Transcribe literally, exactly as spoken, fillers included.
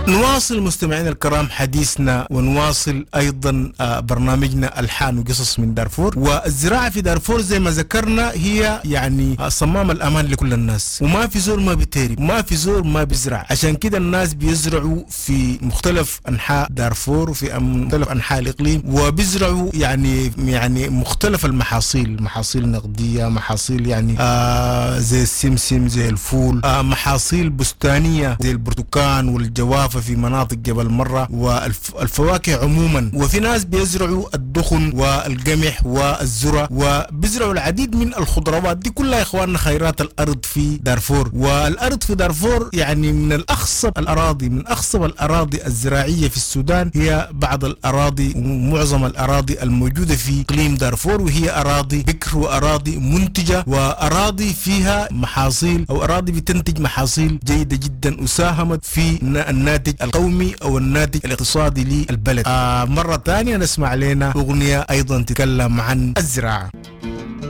نواصل مستمعينا الكرام حديثنا، ونواصل ايضا آه، برنامجنا الحان وقصص من دارفور. والزراعة في دارفور زي ما ذكرنا هي يعني آه، صمام الامان لكل الناس، وما في زول ما بيتهرب، ما في زول ما بيزرع. عشان كده الناس بيزرعوا في مختلف انحاء دارفور وفي مختلف انحاء الاقليم، وبيزرعوا يعني يعني مختلف المحاصيل، محاصيل نقدية، محاصيل يعني آه زي السمسم، زي الفول، آه محاصيل بستانيه زي البرتقال والجوافه في مناطق جبل مرة، والفواكه عموما. وفي ناس بيزرعوا الدخن والقمح والذرة، وبيزرعوا العديد من الخضروات دي كلها يا اخواننا خيرات الارض في دارفور. والارض في دارفور يعني من الاخصب الاراضي، من اخصب الاراضي الزراعية في السودان هي بعض الاراضي ومعظم الاراضي الموجودة في اقليم دارفور، وهي اراضي بكر واراضي منتجه واراضي فيها محاصيل او اراضي بتنتج محاصيل جيدة جدا وساهمت في الناتج القومي او الناتج الاقتصادي للبلد. آه مرة ثانية نسمع لنا اغنية ايضا تتكلم عن الزراعة.